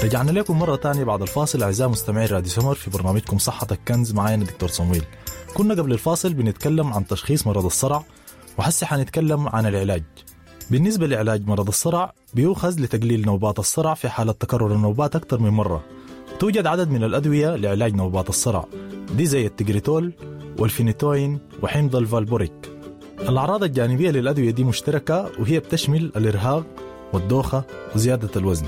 رجعنا لكم مرة تانية بعد الفاصل أعزائي مستمعي راديو سمر في برنامجكم صحتك كنز، معانا دكتور صمويل. كنا قبل الفاصل بنتكلم عن تشخيص مرض الصرع، وحسي حنتكلم عن العلاج. بالنسبة لعلاج مرض الصرع بيؤخذ لتقليل نوبات الصرع في حالة تكرر النوبات أكثر من مرة. توجد عدد من الأدوية لعلاج نوبات الصرع دي زي التجريتول والفينيتوين وحمض الفالبوريك. الأعراض الجانبية للأدوية دي مشتركة، وهي بتشمل الإرهاق والدوخة وزيادة الوزن.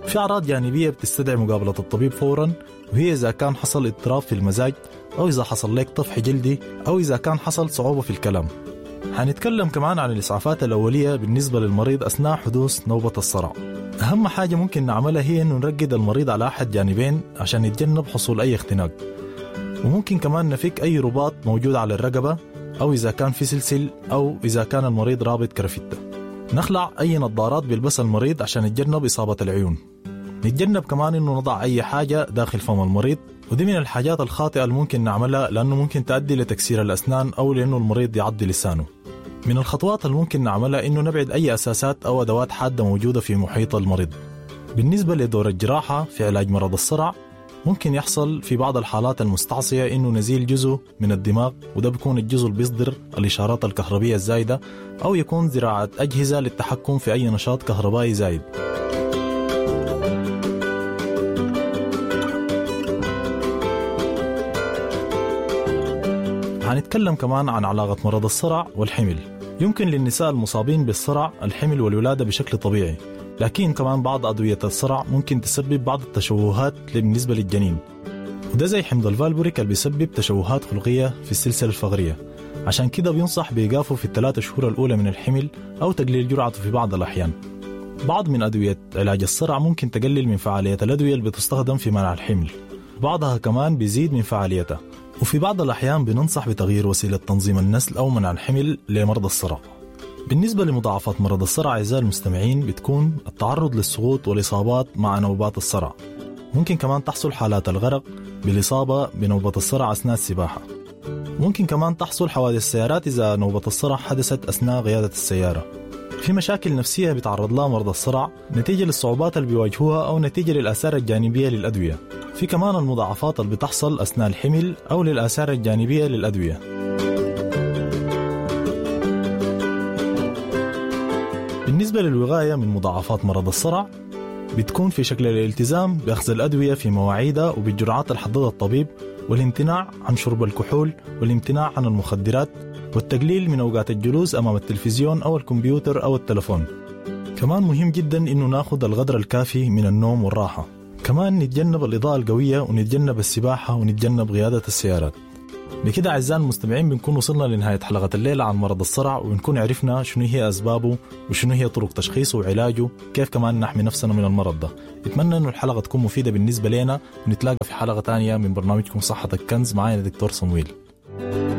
في أعراض جانبية بتستدعي مقابلة الطبيب فورا، وهي إذا كان حصل اضطراب في المزاج، أو إذا حصل لك طفح جلدي، أو إذا كان حصل صعوبة في الكلام. هنتكلم كمان عن الإسعافات الأولية بالنسبة للمريض أثناء حدوث نوبة الصرع. أهم حاجة ممكن نعملها هي إنه نرقد المريض على أحد جانبين عشان يتجنب حصول أي اختناق، وممكن كمان نفك أي رباط موجود على الرقبة، أو إذا كان في سلسل، أو إذا كان المريض رابط كرافتة. نخلع أي نظارات بيلبسها المريض عشان يتجنب إصابة العيون. نتجنب كمان إنه نضع أي حاجة داخل فم المريض، ودي من الحاجات الخاطئة اللي ممكن نعملها لأنه ممكن تؤدي لتكسير الأسنان أو لأنه المريض يعض لسانه. من الخطوات اللي ممكن نعملها إنه نبعد أي أساسات أو أدوات حادة موجودة في محيط المريض. بالنسبة لدور الجراحة في علاج مرض الصرع، ممكن يحصل في بعض الحالات المستعصية إنه نزيل جزء من الدماغ، وده بيكون الجزء اللي بيصدر الإشارات الكهربية الزايدة، أو يكون زراعة أجهزة للتحكم في أي نشاط كهربائي زايد. هنتكلم كمان عن علاقة مرض الصرع والحمل. يمكن للنساء المصابين بالصرع الحمل والولادة بشكل طبيعي، لكن كمان بعض أدوية الصرع ممكن تسبب بعض التشوهات بالنسبة للجنين، وده زي حمض الفالبوريك اللي بيسبب تشوهات خلقية في السلسلة الفقرية. عشان كده بينصح بإيقافه في ال3 شهور الأولى من الحمل أو تقليل جرعته في بعض الأحيان. بعض من أدوية علاج الصرع ممكن تقلل من فعالية الأدوية اللي بتستخدم في منع الحمل، بعضها كمان بيزيد من فعاليتها، وفي بعض الأحيان بننصح بتغيير وسيلة تنظيم النسل أو منع الحمل لمرضى الصرع. بالنسبة لمضاعفات مرض الصرع أعزائي المستمعين، بتكون التعرض للسقوط والإصابات مع نوبات الصرع. ممكن كمان تحصل حالات الغرق بالإصابة بنوبة الصرع أثناء السباحة. ممكن كمان تحصل حوادث السيارات إذا نوبة الصرع حدثت أثناء قيادة السيارة. في مشاكل نفسية بيتعرض لها مرضى الصرع نتيجة للصعوبات اللي بيواجهوها أو نتيجة للآثار الجانبية للأدوية. في كمان المضاعفات اللي بتحصل أثناء الحمل أو للآثار الجانبية للأدوية. بالنسبة للوقاية من مضاعفات مرض الصرع، بتكون في شكل الالتزام بأخذ الأدوية في مواعيدها وبالجرعات اللي حددها الطبيب، والامتناع عن شرب الكحول، والامتناع عن المخدرات، والتقليل من أوقات الجلوس أمام التلفزيون أو الكمبيوتر أو التلفون. كمان مهم جدا إنه ناخذ القدر الكافي من النوم والراحة. كمان نتجنب الإضاءة القوية، ونتجنب السباحة، ونتجنب قيادة السيارات. بكده أعزائي المستمعين بنكون وصلنا لنهاية حلقة الليلة عن مرض الصرع، وبنكون عرفنا شنو هي أسبابه وشنو هي طرق تشخيصه وعلاجه، كيف كمان نحمي نفسنا من المرض ده. أتمنى إنه الحلقة تكون مفيدة بالنسبة لنا، ونتلاقى في حلقة تانية من برنامجكم صحتك كنز. معايا دكتور صمويل.